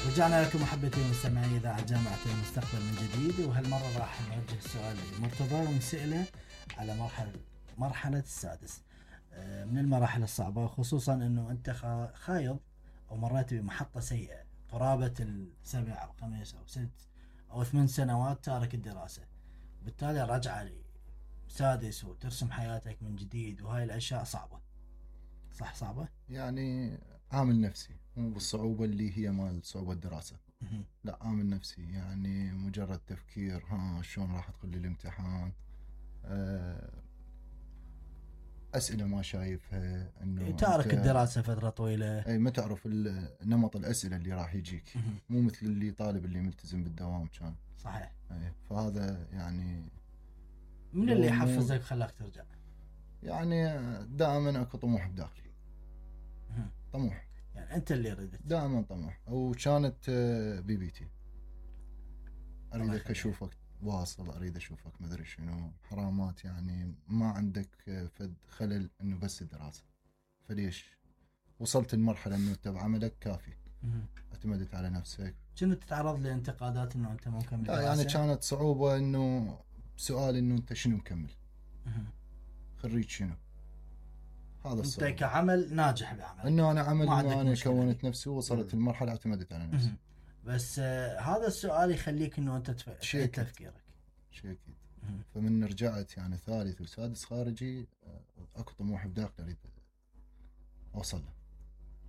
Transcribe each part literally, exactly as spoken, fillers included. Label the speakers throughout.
Speaker 1: رجعنا لكم محبتي ومستمعي إذاعة جامعة المستقبل من جديد، وهالمرة راح نوجه سؤال لمرتضى ونسأله على مرحلة مرحلة السادس من المراحل الصعبة، خصوصا أنه أنت خايض أو مريت بمحطة سيئة قرابة السبع أو خمس أو ست أو ثمان سنوات تارك الدراسة، بالتالي رجعة سادس وترسم حياتك من جديد، وهاي الأشياء صعبة. صح صعبة؟
Speaker 2: يعني عامل نفسي مو بالصعوبة اللي هي مال صعوبة الدراسة. لا عامل نفسي، يعني مجرد تفكير ها شلون راح تدخل الامتحان، أسئلة ما شايفها، إنه
Speaker 1: تارك الدراسة فترة طويلة،
Speaker 2: أي ما تعرف نمط الأسئلة اللي راح يجيك، مو مثل اللي طالب اللي ملتزم بالدوام كان.
Speaker 1: صحيح.
Speaker 2: أي فهذا يعني
Speaker 1: من اللي حفزك خلاك ترجع؟
Speaker 2: يعني دائما أكو طموح بداخلي، طموح
Speaker 1: يعني أنت اللي ردت
Speaker 2: دائما طموح، وكانت بيبيتي أريدك أشوفك واصل، أريد أشوفك مدري شنو حرامات، يعني ما عندك فد خلل إنه بس الدراسة، فليش وصلت المرحلة إنه أنت بعملك كافي، اعتمدت على نفسك.
Speaker 1: كنت تتعرض لانتقادات إنه أنت مو مكمل دراسة؟
Speaker 2: يعني كانت صعوبة إنه سؤال إنه أنت شنو مكمل، خريج شنو، هذا الصعوبة.
Speaker 1: أنت كعمل ناجح بعمل
Speaker 2: إنه أنا عمل إنه أنا كونت نفسي ووصلت المرحلة اعتمدت على نفسي.
Speaker 1: بس آه هذا السؤال يخليك إنه أنت تعيد تف... تفكيرك.
Speaker 2: شيء أكيد. فمن رجعت يعني ثالث وسادس خارجي أكو طموح بداخلي أريد أوصل له،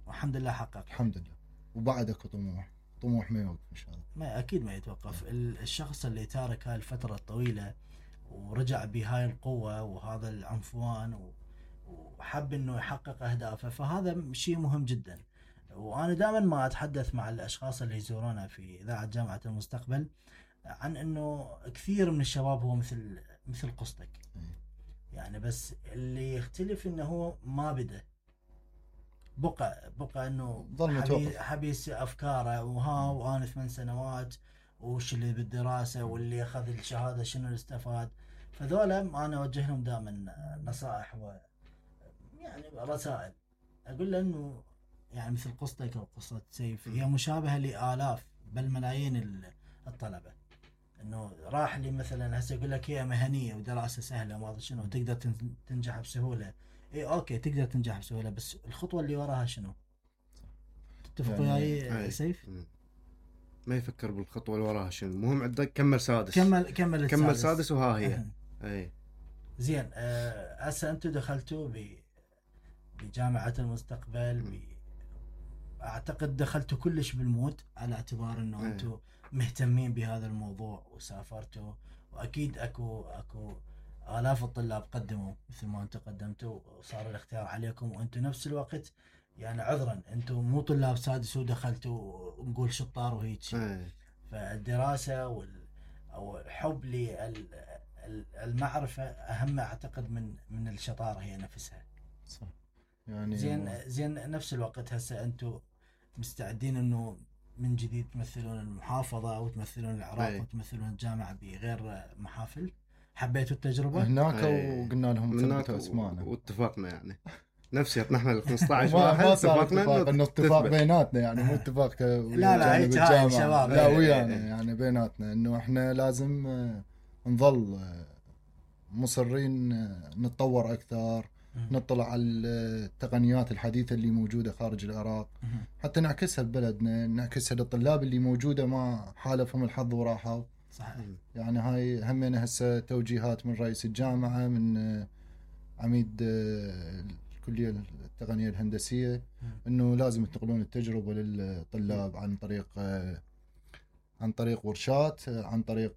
Speaker 1: والحمد لله حقق.
Speaker 2: الحمد لله. وبعد أكو طموح، طموح ما يوقف إن شاء الله.
Speaker 1: ما أكيد ما يتوقف. الشخص اللي تارك هاي الفترة الطويلة ورجع بهاي القوة وهذا العنفوان و... وحب إنه يحقق أهدافه، فهذا شيء مهم جدا. وأنا دائما ما أتحدث مع الأشخاص اللي يزورونا في إذاعة جامعة المستقبل عن إنه كثير من الشباب هو مثل مثل قصتك، يعني بس اللي يختلف إنه هو ما بدأ بقى بقى إنه حبي حبيس أفكاره وها وأنا ثمان سنوات وش اللي بالدراسة واللي أخذ الشهادة شنو اللي استفاد. فذولا أنا أوجه لهم دائما نصائح و يعني رسائل، أقول له إنه يعني مثل قصتك أو قصة سيف هي مشابهة لآلاف بل ملايين الطلبة، إنه راح لي مثلا هسه يقول لك هي مهنية ودراسة سهلة وما أدري شنو تقدر تنجح بسهولة. إيه أوكي تقدر تنجح بسهولة، بس الخطوة اللي وراها شنو؟ تتفق وياي يعني سيف؟
Speaker 3: ما يفكر بالخطوة اللي وراها شنو، المهم عندك كمل سادس
Speaker 1: كمل كمل
Speaker 3: كمل سادس وها هي. أي
Speaker 1: زين. هسه أنتوا دخلتوا ب بجامعة المستقبل، ب أعتقد دخلتوا كلش بالمود على اعتبار إنه أنتوا مهتمين بهذا الموضوع وسافرتوا، وأكيد أكو أكو آلاف الطلاب قدموا مثل ما أنتوا قدمتوا وصار الاختيار عليكم، وأنتوا نفس الوقت يعني عذرا أنتوا مو طلاب سادس ودخلتوا نقول شطار وهيك. فالدراسة وال أو الحب للمعرفة أهم أعتقد من من الشطارة هي نفسها.
Speaker 2: صح. يعني
Speaker 1: زين زين نفس الوقت هسه أنتوا مستعدين إنه من جديد تمثلون المحافظة أو تمثلون العراق أي. وتمثلون الجامعة بغير محافل؟ حبيتوا التجربة
Speaker 2: هناك وقلنا لهم ثبتوا اسماءنا
Speaker 3: واتفقنا يعني نفس احنا ال خمسة عشر
Speaker 2: واحد اتفقنا انه اتفاق بيناتنا، يعني مو اتفاق
Speaker 1: لا لا هيك هاي الشباب
Speaker 2: لا ويانا يعني بيناتنا انه احنا لازم نظل مصرين نتطور اكثر، نطلع على التقنيات الحديثة اللي موجودة خارج العراق حتى نعكسها ببلدنا، نعكسها للطلاب اللي موجودة ما حالفهم الحظ وراحوا.
Speaker 1: صحيح.
Speaker 2: يعني هاي همنا هسه توجيهات من رئيس الجامعة، من عميد الكلية التقنية الهندسية، انه لازم ينتقلون التجربة للطلاب عن طريق عن طريق ورشات، عن طريق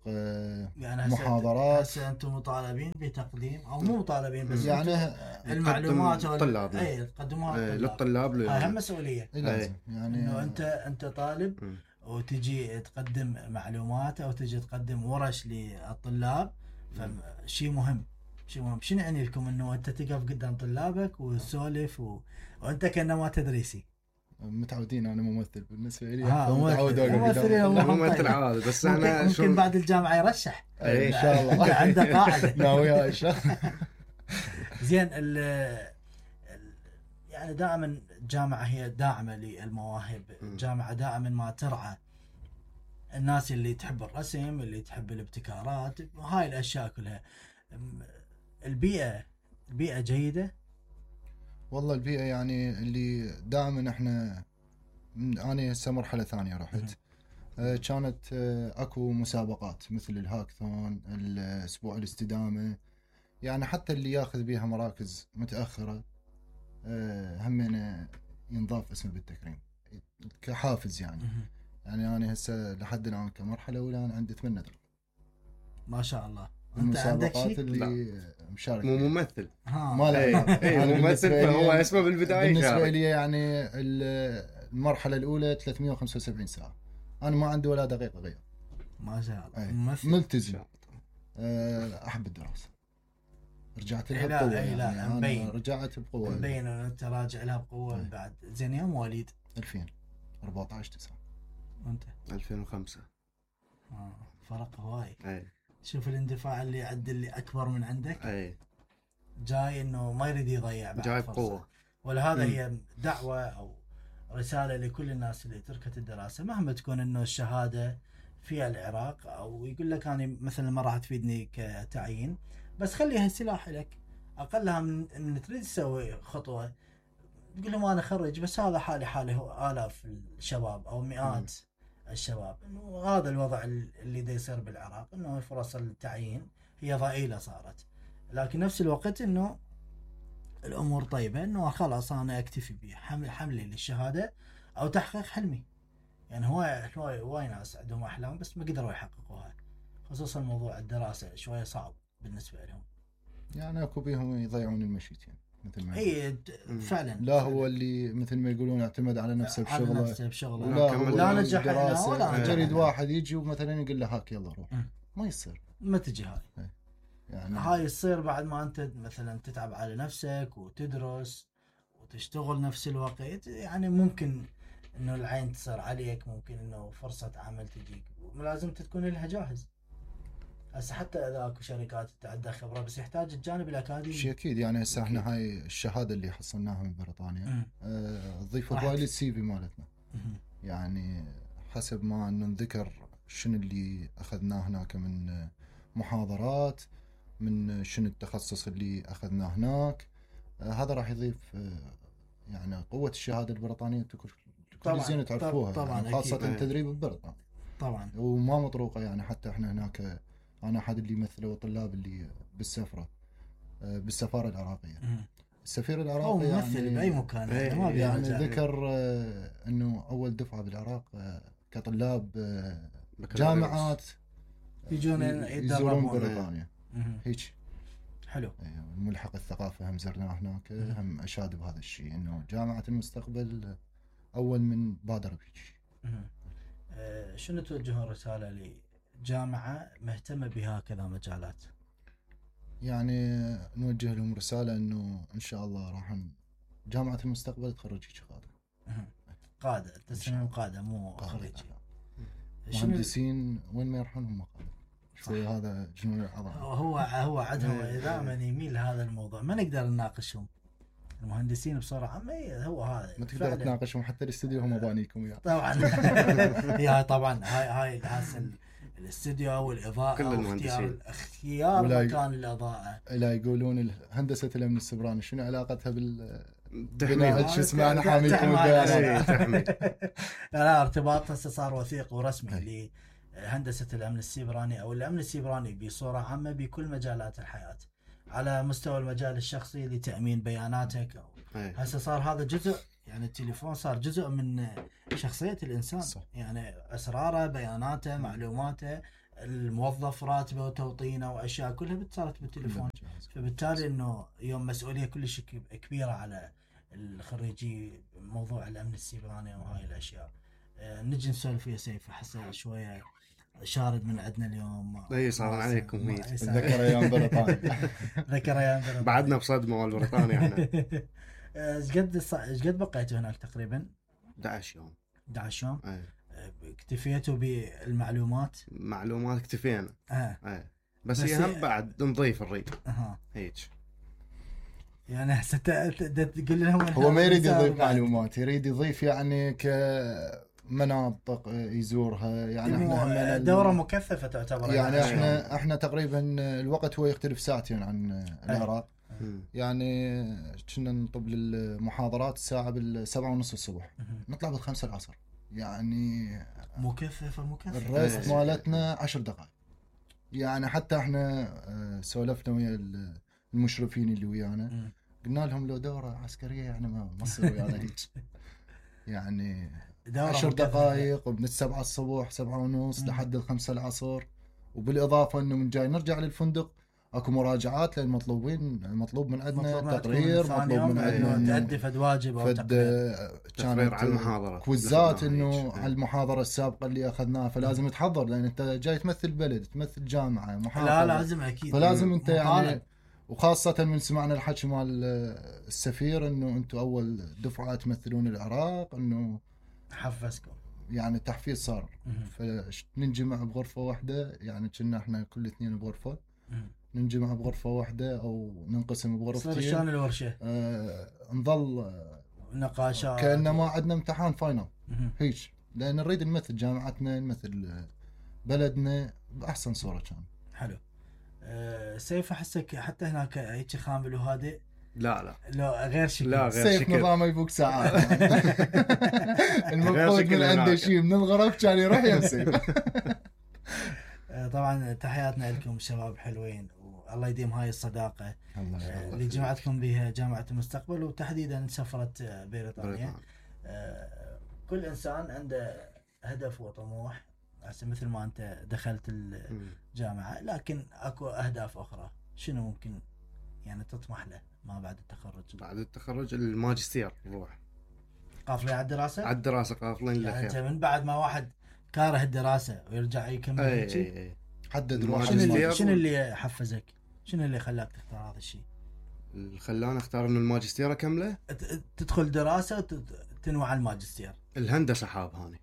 Speaker 2: يعني محاضرات.
Speaker 1: هسه انتم مطالبين بتقديم او مو مطالبين بس
Speaker 2: يعني
Speaker 1: المعلومات
Speaker 3: للطلاب
Speaker 1: اي تقدموها
Speaker 3: للطلاب
Speaker 1: هاي هم مسؤوليه
Speaker 2: لازم يعني
Speaker 1: انه انت انت طالب م. وتجي تقدم معلومات او تجي تقدم ورش للطلاب، فشيء مهم شيء مهم. شنو يعني لكم انه انت تقف قدام طلابك وتسولف و... وانت كانما تدريسي؟
Speaker 2: متعودين، انا ممثل بالنسبه لي
Speaker 1: متعود
Speaker 3: ممثل عادي، بس انا
Speaker 1: ممكن شو... بعد الجامعه يرشح
Speaker 2: ان شاء الله
Speaker 1: عنده قاعده
Speaker 2: ناوي ان شاء الله.
Speaker 1: زين ال يعني دائما الجامعه هي داعمه للمواهب،
Speaker 3: مم.
Speaker 1: الجامعه دائما ما ترعى الناس اللي تحب الرسم، اللي تحب الابتكارات، هاي الاشياء كلها. أم، البيئه البيئه جيده.
Speaker 2: والله البيئة يعني اللي دائما احنا من- انا هسه مرحلة ثانية رحت. آه، كانت آه، اكو مسابقات مثل الهاكثون، الاسبوع الاستدامة، يعني حتى اللي ياخذ بيها مراكز متأخرة آه، همنا ينضاف اسمه بالتكريم كحافز يعني.
Speaker 1: مهم.
Speaker 2: يعني انا هسه لحد الان كمرحلة اولى انا عندي ثمانية درجات
Speaker 1: ما شاء الله. انت عندك
Speaker 2: المسابقات
Speaker 1: شيء؟
Speaker 2: اللي مشارك
Speaker 3: مو
Speaker 2: فيها.
Speaker 3: ممثل.
Speaker 1: ها.
Speaker 2: ما له
Speaker 3: اي
Speaker 2: علاقة.
Speaker 3: اي
Speaker 2: أنا
Speaker 3: ممثل،
Speaker 2: بالنسبة
Speaker 3: فهو
Speaker 2: لي-
Speaker 3: اسمه بالبدايه
Speaker 2: بالنسبة
Speaker 3: يشارك.
Speaker 2: لي يعني ال- المرحلة الأولى ثلاثمية وخمسة وسبعين ساعة، أنا ما عندي ولا دقيقة غير.
Speaker 1: ما شاء الله.
Speaker 2: أي.
Speaker 1: ممثل.
Speaker 2: ملتزم. أه، أحب الدراسة، رجعت لها
Speaker 1: إي لا،
Speaker 2: بقوة
Speaker 1: إي لا،
Speaker 2: يعني
Speaker 1: مبين.
Speaker 2: أنا رجعت بقوة.
Speaker 1: مبين ان انت راجع لها بقوه.
Speaker 2: أي.
Speaker 1: بعد زين يا مواليد
Speaker 2: ألفين وأربعة عشر تسعة.
Speaker 1: وانت؟
Speaker 3: ألفين وخمسة.
Speaker 1: آه. فرق هواي.
Speaker 3: اي
Speaker 1: شوف الاندفاع اللي عند اللي اكبر من عندك،
Speaker 3: اي
Speaker 1: جاي انه ما يريد يضيع بعد
Speaker 3: جاي
Speaker 1: فرصة.
Speaker 3: بقوه.
Speaker 1: ولهذا
Speaker 2: مم.
Speaker 1: هي دعوه او رساله لكل الناس اللي تركت الدراسه، مهما تكون انه الشهاده فيها العراق، او يقول لك انا مثلا ما راح تفيدني كتعيين، بس خليها سلاح لك. اقلها من ان تريد تسوي خطوه تقول لهم انا خرج، بس هذا حالي حالي هو الاف الشباب او مئات الشباب، انه هذا الوضع اللي دا يصير بالعراق، انه فرص التعيين هي ضئيله صارت. لكن نفس الوقت انه الامور طيبه، انه خلاص انا اكتفي بحمل حملي للشهاده او تحقيق حلمي. يعني هواي هواي هواي ناس عندهم احلام بس ما قدروا يحققوها، خصوصا موضوع الدراسه شويه صعب بالنسبه لهم.
Speaker 2: يعني أكو بيهم يضيعون المشيتين مثل ما يقولون.
Speaker 1: اي فعلا.
Speaker 2: لا هو اللي مثل ما يقولون اعتمد على نفسه
Speaker 1: على
Speaker 2: بشغله،
Speaker 1: نفسه بشغله.
Speaker 2: ولا
Speaker 3: كمل
Speaker 2: هو
Speaker 1: لا
Speaker 3: دراسة.
Speaker 1: نجح هنا
Speaker 2: دراسة.
Speaker 1: ولا نجح
Speaker 2: جريد
Speaker 1: هنا.
Speaker 2: واحد يجي ومثلا يقول له هاك يلا روح،
Speaker 1: مم.
Speaker 2: ما يصير
Speaker 1: ما تجي هاي.
Speaker 2: يعني.
Speaker 1: هاي تصير بعد ما انت مثلا تتعب على نفسك وتدرس وتشتغل نفس الوقت، يعني ممكن انه العين تصير عليك، ممكن انه فرصة عمل تجيك، ولازم تكون لها جاهز. هسه حتى اذا اكو شركات انت عندها خبرة بس يحتاج الجانب الاكاديمي.
Speaker 2: شيء اكيد يعني هسه احنا هاي الشهاده اللي حصلناها من بريطانيا
Speaker 1: مم.
Speaker 2: آه، تضيف
Speaker 1: راح
Speaker 2: هواي
Speaker 1: ت-
Speaker 2: للسي في مالتنا.
Speaker 1: مهم.
Speaker 2: يعني حسب ما انه نذكر شنو اللي اخذناه هناك من آه، محاضرات، من شنو التخصص اللي اخذناه هناك، آه، هذا راح يضيف آه، يعني قوه الشهاده البريطانيه. تكون
Speaker 1: طبعاً،
Speaker 2: زين تعرفوها
Speaker 1: طبعاً
Speaker 2: يعني،
Speaker 1: أكيد.
Speaker 2: خاصه
Speaker 3: أي.
Speaker 2: التدريب ببريطانيا
Speaker 1: طبعا.
Speaker 2: وما مطروقه. يعني حتى احنا هناك آه، انا احد اللي يمثلوا الطلاب اللي بالسفره آه، بالسفاره العراقيه.
Speaker 1: مهم.
Speaker 2: السفير
Speaker 1: هو
Speaker 2: العراقي
Speaker 1: ممثل
Speaker 2: يعني
Speaker 1: باي مكان،
Speaker 3: إيه،
Speaker 1: يعني ما
Speaker 3: إيه،
Speaker 2: يعني
Speaker 1: بيرجع.
Speaker 2: ذكر آه، انه اول دفعه بالعراق آه، كطلاب آه،
Speaker 3: بكالوريوس.
Speaker 2: جامعات
Speaker 1: يجون
Speaker 2: يزورون
Speaker 1: يتدربون.
Speaker 2: بريطانيا
Speaker 1: مهم.
Speaker 2: هيك.
Speaker 1: حلو.
Speaker 2: آه، الملحق الثقافه هم زرناه هناك، آه، هم اشاد بهذا الشيء انه جامعه المستقبل آه، اول من بادر بهيك.
Speaker 1: مهم. آه، شنو توجهون رسالة لجامعة مهتمة بهكذا مجالات؟
Speaker 2: يعني آه، نوجه لهم رساله انه ان شاء الله راح ن- جامعه المستقبل تخرج هيك قاده
Speaker 1: مهم. قادة، تسميهم قادة مو خريج. شنو
Speaker 2: مهندسين وين ما يروحون هم قاده. شوي هذا جنون العظمه.
Speaker 1: هو هو عندهم دائما يميل لهذا الموضوع، ما نقدر نناقشهم المهندسين بصورة عامة. إيه، هو هذا
Speaker 2: ما تقدر
Speaker 1: فعلاً.
Speaker 2: تناقشهم حتى الاستديو هم بانيكم وياه.
Speaker 1: طبعا. هي طبعا هاي هاي هسه ال- الاستديو والاضاءة
Speaker 3: كل
Speaker 1: واختيار
Speaker 3: المهندسين.
Speaker 1: اختيار
Speaker 2: ولا ي-
Speaker 1: مكان الاضاءة.
Speaker 2: لا يقولون ال- هندسه الامن السبراني شنو علاقتها بال
Speaker 3: تحميل.
Speaker 2: بناء شو اسمه انا حاميكم
Speaker 1: تحمل-
Speaker 2: البيانات.
Speaker 3: إيه، تحميل.
Speaker 1: لا لا، ارتباط هسه صار وثيق ورسمي
Speaker 2: أي.
Speaker 1: لهندسة الأمن السيبراني أو الأمن السيبراني بصورة عامة بكل مجالات الحياة، على مستوى المجال الشخصي لتأمين بياناتك. أو
Speaker 3: إيه.
Speaker 1: هسه صار هذا جزء، يعني التليفون صار جزء من شخصية الإنسان.
Speaker 2: صح.
Speaker 1: يعني أسراره، بياناته، معلوماته، الموظف راتبه وتوطينه وأشياء كلها صارت بالتليفون. فبالتالي انه يوم مسؤوليه كلش كب- كبيره على الخريجي موضوع الامن السيبراني وهاي الاشياء. آه، نجي نسولف يا سيف، احسه شويه شارد من عندنا اليوم.
Speaker 3: إيه، صار عليكم
Speaker 1: ما-
Speaker 3: هيك.
Speaker 1: إيه، صار-
Speaker 2: اتذكر ايام بريطانيا.
Speaker 1: ذكر ايام بريطانيا.
Speaker 3: بعدنا بصدمه مال بريطانيا احنا.
Speaker 1: ايش قد ص- ايش قد بقيتوا هناك تقريبا؟
Speaker 3: أحد عشر يوم.
Speaker 1: أحد عشر يوم.
Speaker 3: إيه.
Speaker 1: آه، اكتفيتوا بالمعلومات؟
Speaker 3: معلومات اكتفينا.
Speaker 1: اه
Speaker 3: إيه. بس,
Speaker 1: بس
Speaker 3: هي
Speaker 1: هي-
Speaker 3: هم بعد نضيف الريد
Speaker 1: اها.
Speaker 3: هيك.
Speaker 1: يعني هسه تقول لهم
Speaker 2: هو ما يريد يضيف معلومات، يريد يضيف يعني كمناطق يزورها يعني احنا
Speaker 1: دوره مكثفه تعتبر
Speaker 2: يعني احنا احنا تقريبا الوقت هو يختلف ساعتين عن العراق. يعني كنا نطب للمحاضرات الساعه بالسبعة ونص الصبح نطلع بالخمسة العصر يعني
Speaker 1: مكثفه مكثفه.
Speaker 2: الريست مالتنا عشر دقائق يعني. حتى احنا سولفنا ويا المشرفين اللي ويانا قلنا لهم لو دوره عسكريه يعني ما تصير ويانا هيك يعني عشر دقائق ومن السبعة الصبح سبعة ونص لحد الخمسة العصر. وبالاضافه انه من جاي نرجع للفندق اكو مراجعات للمطلوبين، المطلوب من عندنا تقرير، مطلوب من عندنا
Speaker 1: تأدي فد واجب او
Speaker 3: تقرير على المحاضره،
Speaker 2: كويزات انه على المحاضره السابقه اللي اخذناها، فلازم تحضر لان انت جاي تمثل بلد، تمثل جامعه محافظه.
Speaker 1: لا لازم اكيد،
Speaker 2: فلازم انت يعني، وخاصه من سمعنا الحكي مال السفير انه انتم اول دفعه تمثلون العراق، انه
Speaker 1: حفزكم
Speaker 2: يعني تحفيز صار. فننجمع بغرفه واحده يعني، كنا احنا كل اثنين بغرفه، ننجمع بغرفة واحدة أو ننقسم بغرفتين.
Speaker 1: صار شلون الورشة؟
Speaker 2: آه نظل آه
Speaker 1: نقاشات
Speaker 2: كأنما عندنا امتحان فاينل هيك، لأن نريد نمثل جامعتنا، نمثل بلدنا بأحسن صورة. كان
Speaker 1: حلو. أه سيف أحسك حتى هناك هيك خامل وهادئ.
Speaker 3: لا لا
Speaker 1: لا غير شكل.
Speaker 3: لا غير
Speaker 2: سيف
Speaker 3: شكل.
Speaker 2: نظامه يفوق ساعات المفروض من عنده شيء من الغرف كان يروح يمسك.
Speaker 1: طبعا تحياتنا لكم شباب حلوين، والله يديم هاي الصداقة اللي جمعتكم بها جامعة المستقبل، وتحديدا سفرة بريطانيا. كل إنسان عنده هدف وطموح، مثل ما أنت دخلت الجامعة، لكن أكو أهداف أخرى. شنو ممكن يعني تطمح له ما بعد التخرج؟
Speaker 3: بعد التخرج الماجستير نروح
Speaker 1: قافلين على الدراسة؟
Speaker 3: على الدراسة قافلين للخير.
Speaker 1: يعني أنت من بعد ما واحد كاره الدراسة ويرجع يكمل هيك،
Speaker 2: حدد
Speaker 1: شنو شنو اللي حفزك؟ شنو اللي خلاك تختار هذا الشيء؟
Speaker 3: اللي خلاني اختار انه الماجستير اكمله،
Speaker 1: تدخل دراسة وتنوع على الماجستير.
Speaker 3: الهندسة حاب هاني،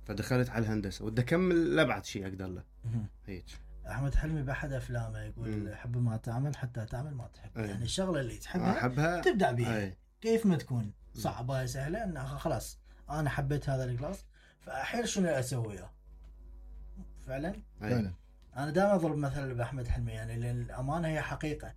Speaker 3: فدخلت على الهندسة ودي اكمل لأبعد شيء اقدر له هيك.
Speaker 1: احمد حلمي باحد افلامه يقول مم. حب ما تعمل حتى تعمل ما تحب. أي. يعني الشغله اللي تحبها أحبها تبدع بيها. أي. كيف ما تكون صعبه سهله، انها خلاص انا حبيت هذا الكلاس فاحيل شنو اسوي له فعلا.
Speaker 2: فعلا
Speaker 1: انا دائما اضرب مثل باحمد حلمي، يعني لان الامانه هي حقيقه.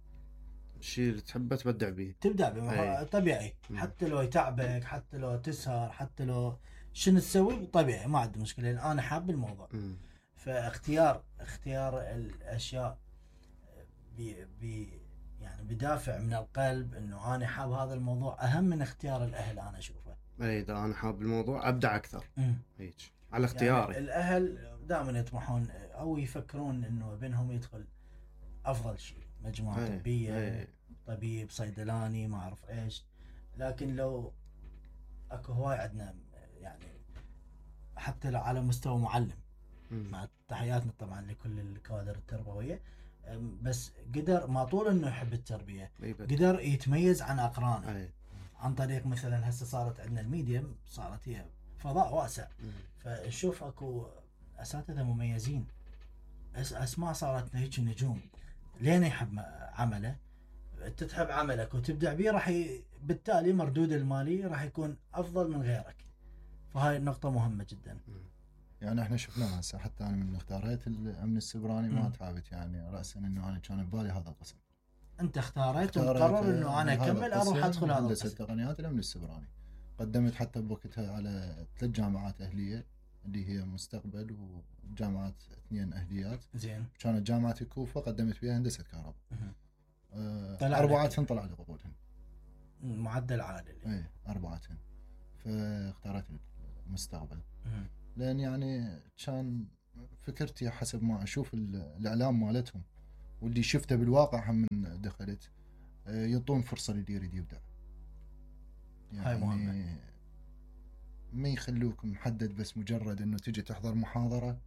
Speaker 3: الشيء اللي تحبه تبدع به
Speaker 1: تبدع به طبيعي. مم. حتى لو يتعبك، حتى لو تسهر، حتى لو شنو تسوي طبيعي ما عندي مشكله، لان انا حاب الموضوع. مم. فاختيار اختيار الاشياء بي بي يعني بدافع من القلب انه انا حاب هذا الموضوع اهم من اختيار الاهل. انا اشوفه
Speaker 3: اي اذا انا حاب الموضوع ابدع اكثر هيك على اختياري.
Speaker 1: يعني الاهل دائما يطمحون او يفكرون انه ابنهم يدخل افضل شيء، مجموعه أي. طبيه أي. طبيب، صيدلاني، ما اعرف ايش. لكن لو اكو هواي عندنا يعني حتى لو على مستوى معلم، مع تحياتنا طبعا لكل الكوادر التربويه، بس قدر ما طول انه يحب التربيه، قدر يتميز عن اقرانه أي. عن طريق مثلا هسه صارت عندنا الميديم، صارت هي فضاء واسع. مم. فنشوف اكو اساتذه مميزين، اسماء صارت هيك نجوم، لين يحب عمله. انت تحب عملك وتبدع به، راح ي... بالتالي مردود المالي راح يكون افضل من غيرك. فهاي النقطه مهمه جدا.
Speaker 2: مم. يعني احنا شفناها هسه، حتى انا من اختاريت الامن السبراني ما تعبت يعني راسا انه انا كان ببالي هذا القسم.
Speaker 1: انت اختاريت وقرر انه انا اكمل اروح ادخل هذا
Speaker 2: هندسه تقنيات الامن السبراني. قدمت حتى بوقتها على ثلاث جامعات اهليه اللي هي مستقبل وجامعات اثنين اهليات.
Speaker 1: زين.
Speaker 2: كانت جامعه الكوفه قدمت فيها هندسه كهرباء. أه اربعتهم طلع لي قبولهم.
Speaker 1: معدل عالي.
Speaker 2: اي اربعتهم. فاختاريت المستقبل. مه. لأن يعني كان فكرتي حسب ما أشوف الإعلام مالتهم واللي شفته بالواقع هم من دخلت يعطون فرصة للي يريد يبدع.
Speaker 1: يعني هاي مهمة.
Speaker 2: ما يخلوك محدد بس مجرد إنه تجي تحضر محاضرة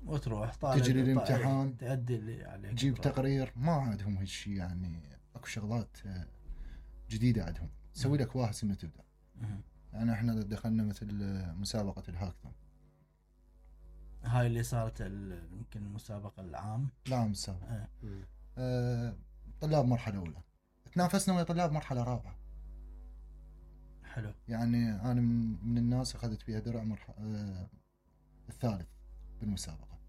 Speaker 1: وتروح
Speaker 2: تجري الامتحان
Speaker 1: تأدي اللي عليك،
Speaker 2: تجيب تقرير. ما عندهم هالشي يعني. أكو شغلات جديدة عندهم تسوي لك واهس إنه تبدع. يعني إحنا دخلنا مثل مسابقة الهاكثون،
Speaker 1: هاي اللي صارت يمكن المسابقة العام
Speaker 2: العام السابق. اه. آه طلاب مرحلة أولى تنافسنا ويا طلاب مرحله رابعه.
Speaker 1: حلو.
Speaker 2: يعني انا من, من الناس اخذت فيها درع مرحله آه الثالث بالمسابقه.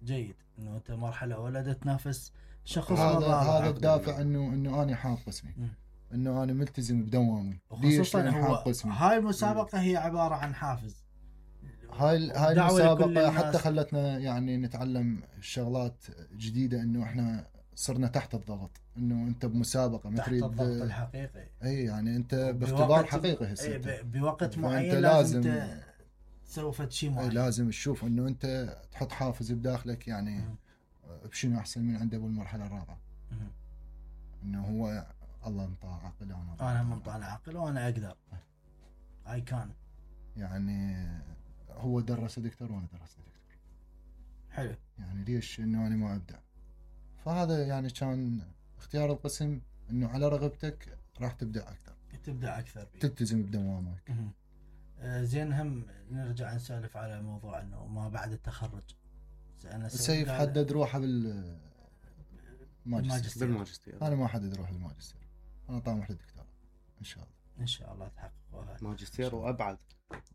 Speaker 1: جيد انه انت مرحله اولى تنافس شخص
Speaker 2: هذا هذا الدافع
Speaker 3: الحمد
Speaker 2: انه انه انا حاط قسمي،
Speaker 1: مم.
Speaker 2: انه انا ملتزم بدوامي. ليش؟
Speaker 1: وخصوصا
Speaker 2: لأن
Speaker 1: هو
Speaker 2: حاط قسمي.
Speaker 1: هاي المسابقه هي عباره عن حافز.
Speaker 2: هاي هاي
Speaker 1: ودعوة لكل
Speaker 2: المسابقه
Speaker 1: الناس.
Speaker 2: حتى خلتنا يعني نتعلم شغلات جديده، انه احنا صرنا تحت الضغط، انه انت بمسابقه ما
Speaker 1: تحت
Speaker 2: تريد.
Speaker 1: الضغط الحقيقي.
Speaker 2: اي يعني انت باختبار
Speaker 1: بوقت-
Speaker 2: حقيقي هسه
Speaker 1: إيه،
Speaker 2: أنت.
Speaker 1: ب- بوقت
Speaker 2: فأنت
Speaker 1: معين
Speaker 2: لازم-
Speaker 1: لازم ت- تسوي فد شيء
Speaker 2: أي
Speaker 1: معين.
Speaker 2: لازم تشوف انه انت تحط حافز بداخلك، يعني
Speaker 1: مم.
Speaker 2: بشنو احسن من عنده بالمرحله الرابعه،
Speaker 1: مم.
Speaker 2: انه هو الله انطاه عقل انا
Speaker 1: انا منطلع عقل وانا اقدر. اي كان.
Speaker 2: يعني هو درس دكتور وانا درست دكتور،
Speaker 1: حلو.
Speaker 2: يعني ليش انه انا ما ابدع؟ فهذا يعني كان اختيار القسم، انه على رغبتك راح تبدع اكثر،
Speaker 1: تبدع اكثر بيه.
Speaker 2: تلتزم بدوامك.
Speaker 1: مهم. آه، زين، هم نرجع نسولف على موضوع انه ما بعد التخرج. أنا
Speaker 2: سيف
Speaker 1: قال-
Speaker 2: حدد روحه بال ماجستير.
Speaker 1: بالماجستير.
Speaker 3: بالماجستير.
Speaker 2: انا ما حدد روحي بالماجستير، انا طامح للدكتوراه ان شاء الله.
Speaker 1: ان شاء الله تحققها.
Speaker 3: ماجستير وابعد.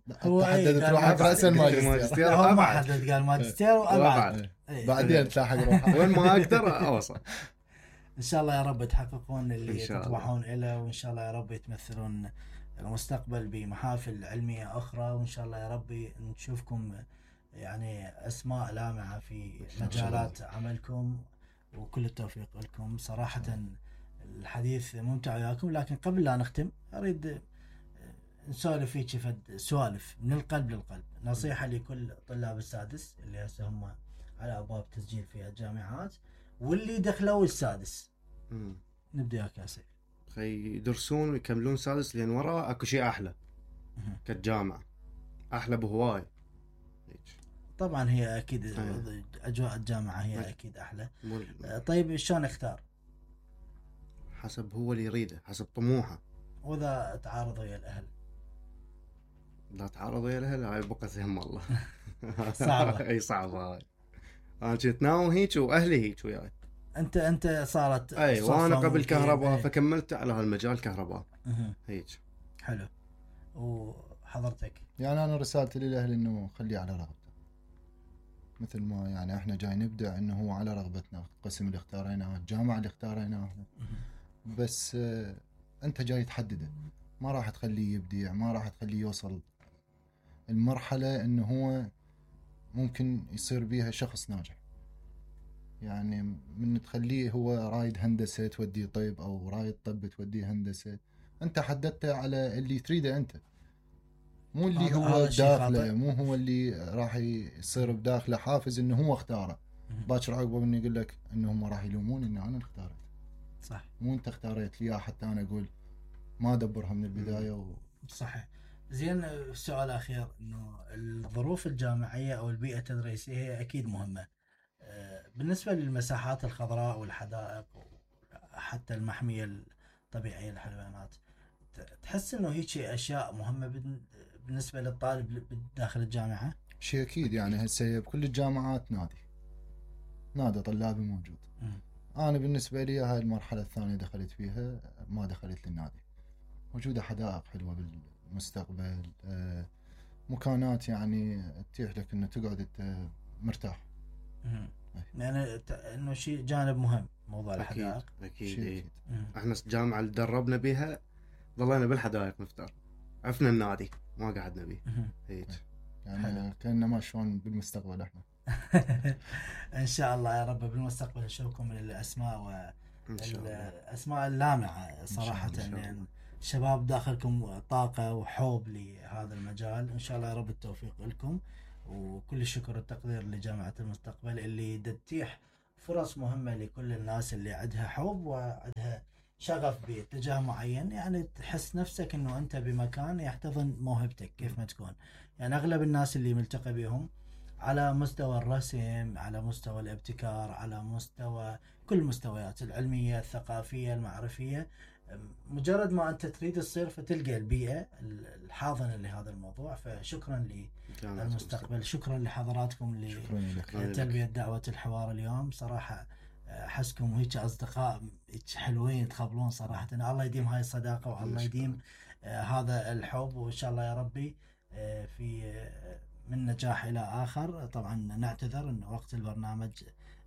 Speaker 2: لا
Speaker 1: هو
Speaker 2: انت
Speaker 1: إيه،
Speaker 2: حددت
Speaker 1: قال
Speaker 2: روحك
Speaker 1: ماجستير.
Speaker 2: راسا الماجستير.
Speaker 3: ماجستير
Speaker 1: لا، هو ما
Speaker 3: وأبعد.
Speaker 1: حدد، قال ماجستير وابعد.
Speaker 3: وأبعد.
Speaker 1: إيه.
Speaker 2: بعدين تلاحق روحك.
Speaker 3: وين ما اقدر اوصل.
Speaker 1: ان شاء الله يا رب تحققون اللي
Speaker 3: إن شاء الله.
Speaker 1: تطمحون له، وان شاء الله يا رب تمثلون المستقبل بمحافل علميه اخرى، وان شاء الله يا رب نشوفكم يعني اسماء لامعه في مجالات عملكم، وكل التوفيق لكم. صراحه الحديث ممتع وياكم، لكن قبل لا نختم اريد نسولف فيك فد سوالف من القلب للقلب. نصيحه لكل طلاب السادس اللي هسه هم على ابواب تسجيل في الجامعات، واللي دخلوا السادس.
Speaker 3: مم.
Speaker 1: نبدا ياك يا سيف.
Speaker 3: خي يدرسون ويكملون سادس، لان وراه اكو شيء احلى
Speaker 1: مهم.
Speaker 3: كالجامعه، احلى بهواي. هيك.
Speaker 1: طبعا هي اكيد
Speaker 3: أيه.
Speaker 1: اجواء الجامعه هي
Speaker 3: أيه.
Speaker 1: اكيد احلى.
Speaker 3: مو-
Speaker 1: طيب شلون اختار؟
Speaker 3: حسب هو اللي يريده، حسب طموحه.
Speaker 1: واذا تعارض ويا الاهل؟
Speaker 3: لا تعارض ويا الاهل، هاي بقى هم الله.
Speaker 1: صعبة.
Speaker 3: اي صعبه هاي. انا كنت ناوم هيك واهلي هيك وياي.
Speaker 1: انت انت صارت
Speaker 3: اي
Speaker 1: صدفة
Speaker 3: وانا قبل
Speaker 1: ممكن.
Speaker 3: كهرباء،
Speaker 1: أي.
Speaker 3: فكملت على هالمجال كهرباء
Speaker 1: مهم.
Speaker 3: هيك.
Speaker 1: حلو. وحضرتك؟
Speaker 2: يعني انا رسالتي للاهل انه خليه على رغبته، مثل ما يعني احنا جاي نبدع، انه هو على رغبتنا، القسم اللي اختاريناه، الجامعه اللي اختاريناها، بس آه انت جاي تحدده، ما راح تخليه يبدع، ما راح تخليه يوصل المرحله انه هو ممكن يصير بيها شخص ناجح. يعني من تخليه هو رايد هندسه توديه طب، او رايد طب توديه هندسه، انت حددته على اللي تريده انت، مو اللي
Speaker 1: هذا-
Speaker 2: هو
Speaker 1: هذا شيء
Speaker 2: داخله،
Speaker 1: خاطئ.
Speaker 2: مو هو اللي راح يصير بداخله حافز انه هو اختاره.
Speaker 1: مهم.
Speaker 2: باكر عقبه مني يقول لك انه هم راح يلومون اني انا اختارت،
Speaker 1: صح.
Speaker 2: مو انت اختاريت لي، حتى انا اقول ما ادبرها من البدايه و...
Speaker 1: صحيح. زين، السؤال الاخير، انه الظروف الجامعيه او البيئه التدريسيه هي اكيد مهمه. آه، بالنسبه للمساحات الخضراء والحدائق وحتى المحميه الطبيعيه للحيوانات، ت- تحس انه هيك اشياء مهمه بن- بالنسبه للطالب داخل الجامعه؟
Speaker 2: شيء اكيد. يعني هسه بكل الجامعات نادي نادي طلابي موجود.
Speaker 1: مم.
Speaker 2: انا بالنسبه لي هاي المرحله الثانيه دخلت فيها، ما دخلت للنادي. موجوده حدائق حلوه بالمستقبل، آه، مكانات يعني تتيح لك انه تقعد انت مرتاح.
Speaker 1: مم.
Speaker 2: أي.
Speaker 1: يعني ت- انه شيء جانب مهم موضوع
Speaker 3: اكيد
Speaker 1: الحدائق.
Speaker 3: اكيد.
Speaker 2: شيء
Speaker 3: إيه.
Speaker 2: أكيد.
Speaker 1: مم.
Speaker 3: احنا الجامعه اللي دربنا بيها ضلينا بالحدائق نفتر، عفنا النادي ما قعدنا بيه
Speaker 1: مم.
Speaker 3: هيك.
Speaker 2: يعني
Speaker 1: حلو.
Speaker 2: كأننا ما شلون بالمستقبل احنا.
Speaker 1: ان شاء الله يا رب بالمستقبل نشوفكم من الاسماء
Speaker 3: ان شاء الله.
Speaker 1: والاسماء اللامعه صراحه.
Speaker 2: إن شاء
Speaker 3: الله.
Speaker 1: يعني شباب داخلكم طاقه وحب لهذا المجال. ان شاء الله يا رب التوفيق لكم، وكل الشكر والتقدير لجامعه المستقبل اللي تتيح فرص مهمه لكل الناس اللي عندها حب وعندها شغف باتجاه معين. يعني تحس نفسك انه انت بمكان يحتضن موهبتك كيف ما تكون. يعني اغلب الناس اللي ملتقى بهم على مستوى الرسم، على مستوى الابتكار، على مستوى كل المستويات العلمية الثقافية المعرفية، مجرد ما أنت تريد تصير فتلقى البيئة الحاضنة لهذا الموضوع. فشكرا للمستقبل، شكرا لحضراتكم
Speaker 2: شكرا لك.
Speaker 1: لتلبية دعوة الحوار اليوم. صراحة احسكم هيك اصدقاء هيك حلوين تخبلون صراحه. الله يديم هاي الصداقه والله يديم آه هذا الحب، وان شاء الله يا ربي آه في آه من نجاح الى اخر. طبعا نعتذر ان وقت البرنامج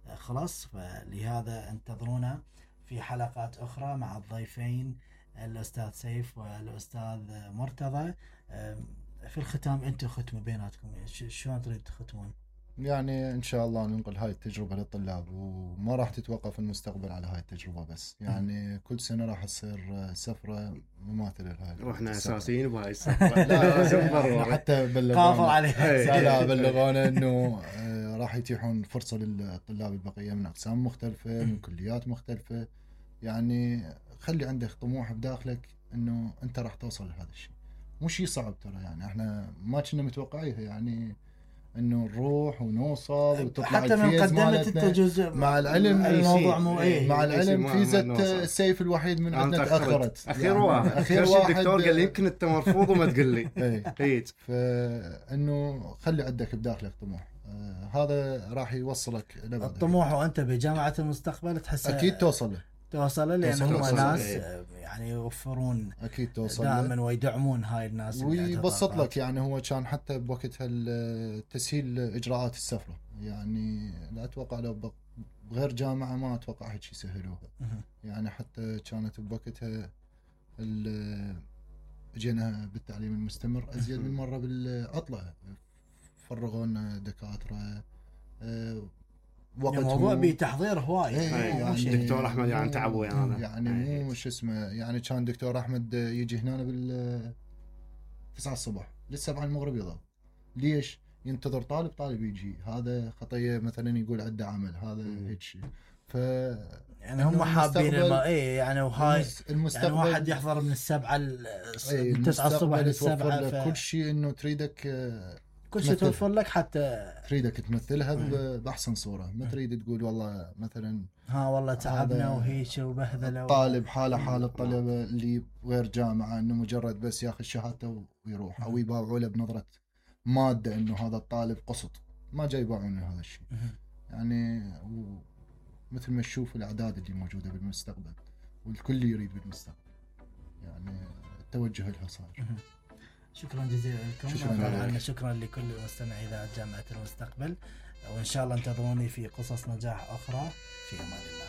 Speaker 1: آه خلص، فلهذا انتظرونا في حلقات اخرى مع الضيفين الاستاذ سيف والاستاذ مرتضى. آه في الختام انتم ختموا بيناتكم، شلون تريد تختمون؟
Speaker 2: يعني ان شاء الله ننقل هاي التجربه للطلاب، وما راح تتوقف المستقبل على هاي التجربه بس، يعني كل سنه راح تصير سفره مماثله لهاي.
Speaker 3: واحنا اساسيين بهاي السفره.
Speaker 2: لا لازم حتى بلغونا
Speaker 1: عليها.
Speaker 2: لا بلغونا انه راح يتيحون فرصه للطلاب البقيه من اقسام مختلفه من كليات مختلفه. يعني خلي عندك طموح بداخلك انه انت راح توصل لهذا الشيء، مو شيء صعب ترى. يعني احنا ما كنا متوقعيها، يعني انه نروح ونوصل وتطلع
Speaker 1: حتى من قدمت انت جزء
Speaker 2: مع العلم
Speaker 1: الموضوع مو ايه
Speaker 2: مع العلم فيزة السيف الوحيد من عندنا تاخرت.
Speaker 3: اخير يعني واحد اخير واحد الدكتور قال لي يمكن انت مرفوض وما تقول لي.
Speaker 2: اي فانه خلي عندك بداخلك طموح، آه هذا راح يوصلك لبعد.
Speaker 1: الطموح وانت بجامعه المستقبل تحس
Speaker 2: اكيد توصل له
Speaker 1: توصل له لان هم ناس إيه. يعني يوفرون
Speaker 2: اكيد توصل
Speaker 1: دائما ويدعمون هاي الناس
Speaker 2: ويبسط لك. يعني هو كان حتى بوقتها تسهيل اجراءات السفره، يعني لا اتوقع لو بغير جامعه ما اتوقع هيك يسهلوها. يعني حتى كانت بوقتها اجينا بالتعليم المستمر ازيد من مره بالعطله، فرغوا لنا دكاتره
Speaker 1: وقت الموضوع بتحضير هواي.
Speaker 2: ايه
Speaker 3: يعني دكتور احمد يعني تعب ويانا،
Speaker 2: يعني مو شو اسمه، يعني كان دكتور احمد يجي هنا بال تسعة الصبح للسبعة المغرب يضل. ليش؟ ينتظر طالب طالب يجي، هذا خطيه مثلا يقول عنده عمل، هذا هيك شيء. ف
Speaker 1: يعني هم حابين الم... ايه يعني وهاي
Speaker 2: المستقبل
Speaker 1: يعني واحد يحضر من السبعة من تسعة الصبح للسبعة
Speaker 2: ف... كل شيء انه تريدك
Speaker 1: كل شيء توفر لك، حتى
Speaker 2: تريدك تمثلها بأحسن صورة. ما تريد تقول والله مثلا
Speaker 1: ها والله تعبنا وهيك وبهذله.
Speaker 2: الطالب حاله حال الطلبة اللي غير جامعة، انه مجرد بس ياخذ شهادته ويروح، او يباوعوا له بنظرة مادة انه هذا الطالب قسط. ما جاي يباوعون هذا الشيء. يعني مثل ما تشوف الاعداد اللي موجودة بالمستقبل، والكل يريد بالمستقبل، يعني التوجه لها صار.
Speaker 1: شكرا جزيلا لكم. شكرا, شكرا لكل مستمعي إذاعة جامعة المستقبل، وإن شاء الله انتظروني في قصص نجاح أخرى. في أمان الله.